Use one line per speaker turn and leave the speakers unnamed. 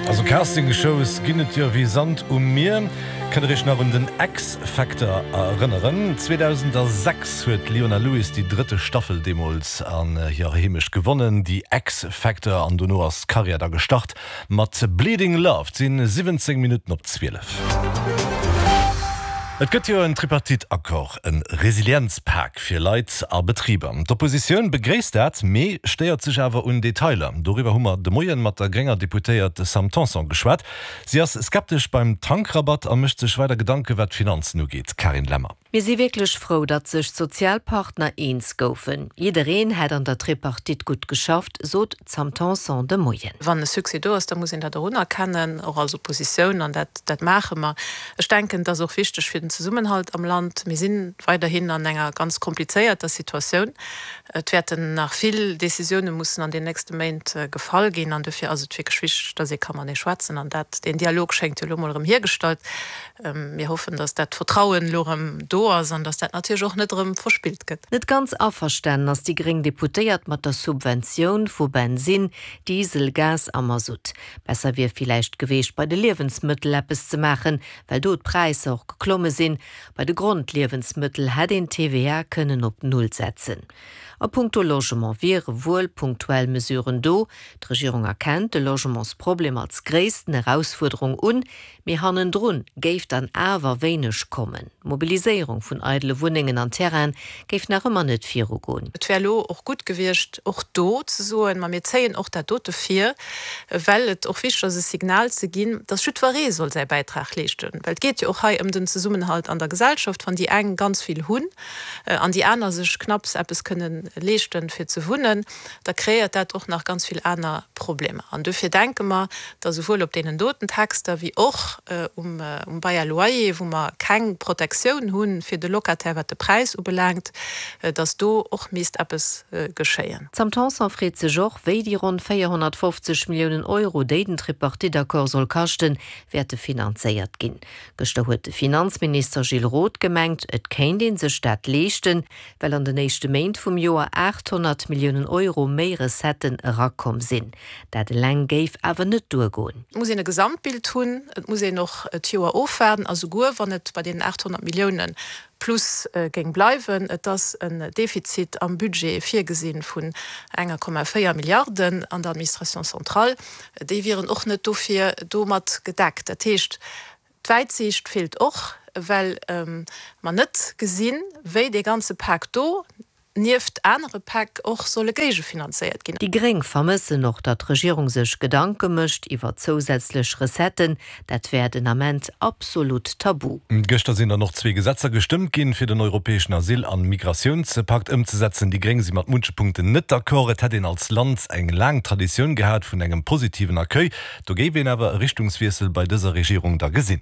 Also Casting-Shows ginn et jo wéi Sand um Mier. Kënnt der iech nach un den X-Factor erënneren? 2006 huet d'Leona Lewis déi drëtte Staffel deemools an hirer Heemecht gewonnen, The X-Factor, an dono ass d'Karriär da gestart mat Bleeding Love. Et sinn 17 Minutten op 12. Et gëtt jo en Tripartite-Accord, e Resilienzpak fir Leit a Betriber. D'Oppositioun begréisst dat, mee stéiert sech awer un Detailer. Doriwwer hu mer de Moien mat der grénger Deputéiert Sam Tanson geschwat. Si ass skeptesch beim Tankrabatt a mécht sech weider Gedanke wat d'Finanzen ugeet. Carine Lemmer.
Mir si wierklech frou, datt sech d'Sozialpartner eens goufen. Jiddereen hätt an der Tripartite gutt geschafft, sot d'Sam Tanson de Moien.
Wann e Succès do ass, da muss een dat och unerkennen, och als Oppositioun, an dat, dat maache mer. Ech denken, et ass och wichteg fir den Zesummenhalt am Land. Mir si weiderhin an enger ganz komplizéierter Situatioun. Et wäerten nach vill Décisioune mussen an den nächste Méint gefall ginn, an dofir ass et wierklech wichteg, datt ee ka matenee schwätzen. An dat, deen Dialog schéngt jo elo mol erëm hiergestallt. Mir hoffen, datt dat Vertrauen elo erëm do ass an datt dat natierlech och net erëm verspillt gëtt.
Net ganz averstanen ass déi gréng Deputéiert mat der Subventioun vu Bensinn, Diesel, Gas a Masutt. Besser wier villäicht geweecht bei de Liewensmëttel eppes ze maachen, well do d'Präisser och geklomme sinn. Bei de Grondliewensmëttel hätt een d'TVA kënnen op Null setzen. A punkto Logement wiere wuel punktuell Mesuren do. D'Regierung erkennt de Logementsproblem als gréissten Erausfuerderung un, Mee hannendrun géif dann awer wéineg kommen. D'Mobiliséierung vun eidele Wunnengen an Terraine géif nach ëmmer net virugoen.
Et wär elo och gutt gewiescht, och do ze soen, ma mir zéien och dat dote vir, well et och wichteg ass, e Signal ze ginn, dass jiddweree soll säi Bäitrag leeschten. Well et geet jo och hei ëm den Zesummenhalt an der Gesellschaft. Wann déi eng ganz vill hunn an déi aner sech knapps eppes kënnen leeschten, fir ze wunnen, da kreéiert dat och nach ganz vill aner Problemer. An duerfir denke mer, dass esouwuel op deenen doten Texter wéi och um Bail à loyer, wou mer keng Protektioun hu fir de Locataire, wat de Präis ubelaangt, dass do och misst eppes geschéien.
D'Sam Tanson freet sech och, wéi déi ronn 450 Milliounen Euro, déi den Tripartite-Accord soll kaschten, wäerte finanzéiert ginn. Gëschter huet de Finanzminister Gilles Roth gemengt, et kéint ee sech dat leeschten, well an den éischte Méint vum Joer 800 Milliounen Euro méi Recetten erakomm sinn. Dat eleng géif awer net duergoen.
Et muss een e Gesamtbild hunn, et muss een och d'Joer ofwaarden a souguer wann et bei deenen 800 Millioune plus géing bleiwen, et ass en Defizit am Budget virgesi vun enger Komma 4 Milliarden an der Administration centrale, déi wieren och net dofir domat gedeckt. Dat heescht, D'Wäitsiicht feelt och, well mer net gesinn, wéi dee ganze Pak do nieft anere Päck och solle géigefinanzéiert ginn.
Déi Gréng vermëssen och, datt d'Regierung sech Gedanke mécht iwwer zousätzlech Recetten. Dat wär den Ament absolut tabu.
Gëschter sinn dann och zwee Gesetzer gestëmmt ginn, fir den europäeschen Asyl an Migratiounspakt ëmzesetzen. Déi Gréng si mat munche Punkten net d'accord. Et hätt een als Land eng laang Traditioun gehat vun engem positiven Accueil. Do géif een awer e Richtungswiessel bei dëser Regierung da gesinn.